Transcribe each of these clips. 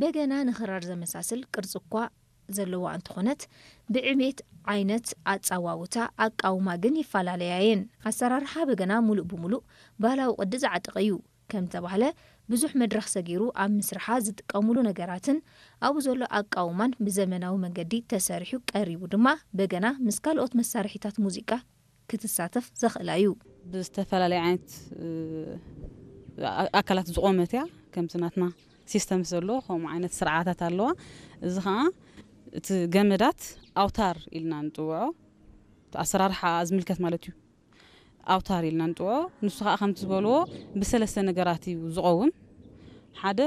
በገና ንኽራር ዘመሳስል ቅርጺ እኳ ዘለዋ እንተኾነት፣ ብዕቤት ዓይነት ኣጻዋውታ ኣቃውማ ግን ይፈላለያ እየን። ኣሰራርሓ በገና ሙሉእ ብሙሉእ ባህላዊ ቅዲ ዝዓጠቐ እዩ። ከም ተባህለ፣ ብዙሕ መድረኽ ሰጊሩ ኣብ ምስርሓ ዝጥቀሙሉ ነገራትን ኣብኡ ዘሎ ኣቃውማን ብዘመናዊ መንገዲ ተሰሪሑ ቀሪቡ ድማ በገና ምስ ካልኦት መሳርሒታት ሙዚቃ ክትሳተፍ ዘኽእላ እዩ። ብዝተፈላለየ ዓይነት ኣካላት ዝቖመት እያ። ከምቲ ናትና ሲስተም ዘሎ ከምኡ ዓይነት ስርዓታት ኣለዋ። እዚ ከዓ እቲ ገመዳት ኣውታር ኢልና ንፅውዖ፣ ኣሰራርሓ ዝምልከት ማለት እዩ። ኣውታር ኢልና ንፅውዖ። ንሱ ከዓ ከምቲ ዝበልዎ ብሰለስተ ነገራት እዩ ዝቐውም። ሓደ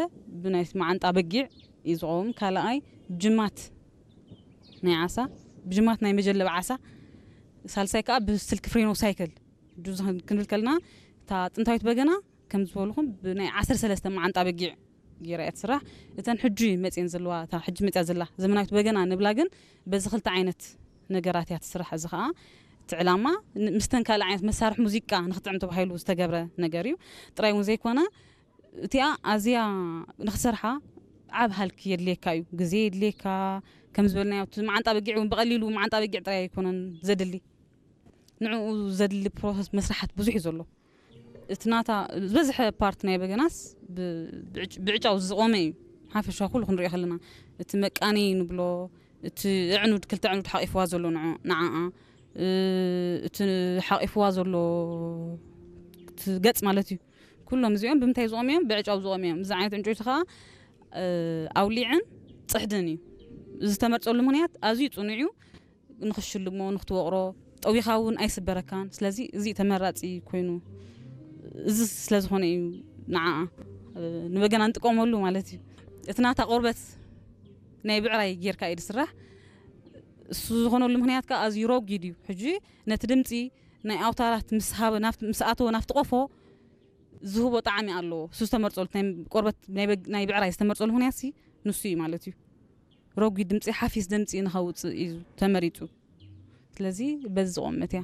ብናይ መዓንጣ በጊዕ እዩ ዝቐውም። ካልኣይ ጅማት ናይ ዓሳ፣ ብጅማት ናይ መጀለብ ዓሳ፣ ሳልሳይ ከዓ ብስልክ ፍሬኖ ሳይክል። ጁዝ ክንብል ከልና እታ ጥንታዊት በገና ከም ዝበልኹም ብናይ ዓሰርተ ሰለስተ መዓንጣ በጊዕ ገይራ እያ ትስራሕ። እተን ሕጂ መፅየን ዘለዋ፣ እታ ሕጂ መፅያ ዘላ ዘመናዊት በገና ንብላ ግን በዚ ክልተ ዓይነት ነገራት እያ ትስራሕ። እዚ ከዓ እቲ ዕላማ ን- ምስተን ካልእ ዓይነት መሳርሒ ሙዚቃ ንክጥዕም ተባሂሉ ዝተገብረ ነገር እዩ። ጥራይ እውን ዘይኮነ እቲኣ ኣዝያ ንክሰርሓ ዓብ ሃልኪ የድልየካ እዩ፣ ግዜ የድልየካ። ከም ዝበልናዮ እቲ መዓንጣ በጊዕ እውን ብቐሊሉ መዓንጣ በጊዕ ጥራይ ኣይኮነን ዘድሊ፣ ንዕኡ ዘድሊ ፕሮሰስ መስራሓት ብዙሕ እዩ ዘሎ። እቲ ናታ ዝበዝሐ ፓርት ናይ በገናስ ብ- ብዕጭ- ብዕጫው ዝቆመ እዩ። ሓፈሻ ኩሉ ክንሪኦ ከለና እቲ መቃኒ ንብሎ፣ እቲ ዕኑድ ክልተ ዕኑድ ሓቂፍዋ ዘሎ ንዓ- ንዓኣ፣ እ፣ እቲ ሓቂፍዋ ዘሎ እቲ ገጽ ማለት እዩ። ኩሎም እዚኦም ብምንታይ ዝቆሙ እዮም? ብዕጫው ዝቆሙ እዮም። እዚ ዓይነት ዕንጨይቲ ከዓ እ፣ ኣውሊዕን ፅሕድን እዩ። እዚ ዝተመርፀሉ ምክንያት ኣዝዩ ፅኑዕ እዩ። ንክሽልሞ ንክትወቕሮ ጠዊኻ እውን ኣይስበረካን። ስለዚ እዚ ተመራፂ ኮይኑ እዚ ስለዝኾነ እዩ ንዓ ንበገና ንጥቀመሉ ማለት እዩ። እቲ ናታ ቆርበት ናይ ብዕራይ ጌርካ እዩ ዝስራሕ። እሱ ዝኾነሉ ምክንያት ከዓ ኣዝዩ ረጒድ እዩ። ሕጂ ነቲ ድምፂ ናይ ኣውታራት ምስ ሃበ ናብቲ- ምስ ኣተወ ናብቲ ቆፎ ዝህቦ ጣዕሚ ኣለዎ። እሱ ዝተመርፀሉ ናይ ቆርበት ናይ በግ- ናይ ብዕራይ ዝተመርፀሉ ምክንያት ሲ ንሱ እዩ ማለት እዩ። ረጒድ ድምፂ ሓፊስ ድምፂ ንኸውፅእ እዩ ተመሪፁ። ስለዚ በዚ ዝቆመት እያ።